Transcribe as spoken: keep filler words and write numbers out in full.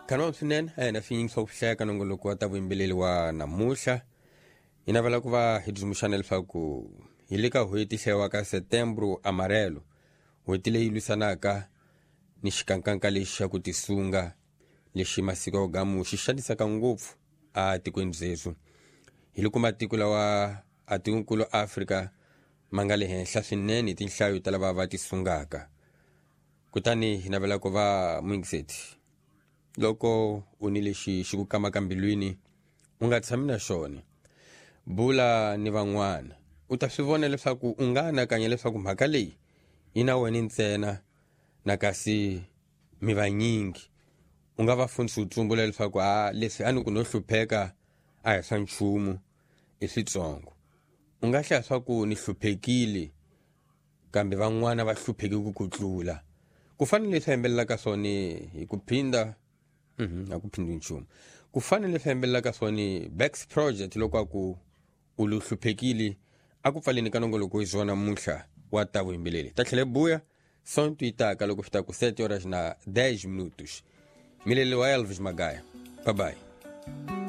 Khanwa swinene a hina swinyingi swa ku hleka nongoloko wa ta vuyimbeleri wa namuhla. Hi navela ku va hi tsundzuxana leswaku hi le ka n'hweti hlayiwaka Setembro Amarelo, n'hweti leyi lwisanaka ni xikankanka lexi xa ku tisunga lexi masiku ya gamu xi xanisaka ngopfu a tikweni byebyo. Hi loko matiko lawa a tikonkulu Afrika ma nga le henhla swinene hi tinhlayo ta lava va tisungaka. Kutani hi navela ku va muyingiseti loko u ni lexi xi ku kamaka mbilwini u nga tshami na xona, bula ni van'wana. U ta swi vona leswaku u nga anakanya leswaku mhaka leyi yi na wena ntsena na kasi mi vanyingi. U nga va fundisi u tsumbula leswaku a leswi a ni ku no hlupheka a hi swa nchumu i switsongo. U nga hlaya swa ku ni hluphekile kambe van'wana va hlupheke ku ku tlula. Ku fana leswi yimbelelaka swona hi ku phinda mhm a ku phindi nchumu. Ku fana leswi yimbelelaka swona Bax Project loko a ku u lo hluphekile a ku pfaleni ka nongoloko hi swona namuntlha wa ta vuyimbeleri. Ta tlhela buya sonto yi taka loko fita ku sete horas na dez minutos. Milele wa Elvis Magaya. Bye bye.